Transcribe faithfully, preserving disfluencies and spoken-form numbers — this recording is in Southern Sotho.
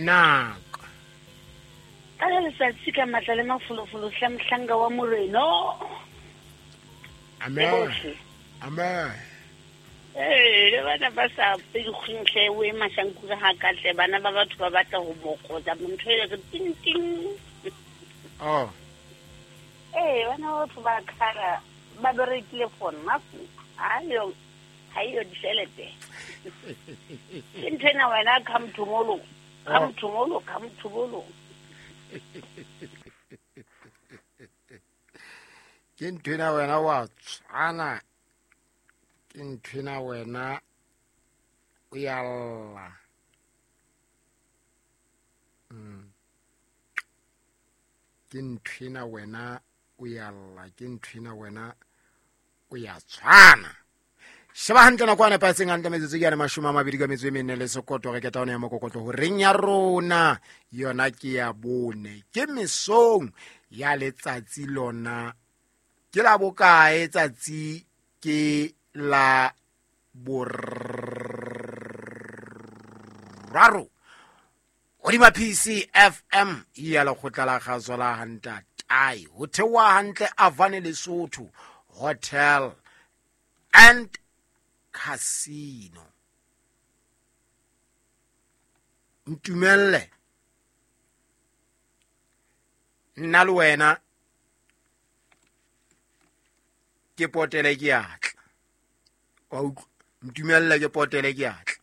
Naka. Ka le letsatsi ka matla le mafolofolo hla mohlanka wa moreno. Amen. Amen. Eh, le bana ba sa pele o e mashankura ha ka tle bana ba batho ba batla ho bokotsa ntho e re ting ting. Oh. Eh, bana ba batho ba khala ba berekile for nothing. Ayo, hayo ditjhelete. Ke ntho ena wena come tomorrow. Come tomorrow, come tomorrow. Ke ntho ena wena wa tshwana. Ke ntho ena wena o ya lla. Mm. Ke ntho ena wena o ya lla, ke ntho ena wena o ya tshwana. Sheba hantle nako ana patseng hantle metsotso ke yana mashome a mabedi ka metso e mene le sekoto re keta ona ya mokokotlo ho reng ya rona yona ke ya bone ke mesong ya letsatsi lona ke la bokae tsatsi ke la boraro hodima P C F M ya lekgotla la kgaso la Hantatai ho theoha hantle Avane Lesotho Hotel and Casino. Ntumelle nna le wena ke potele ke atla. Wa utlwa? Ntumelle ke potele ke atla.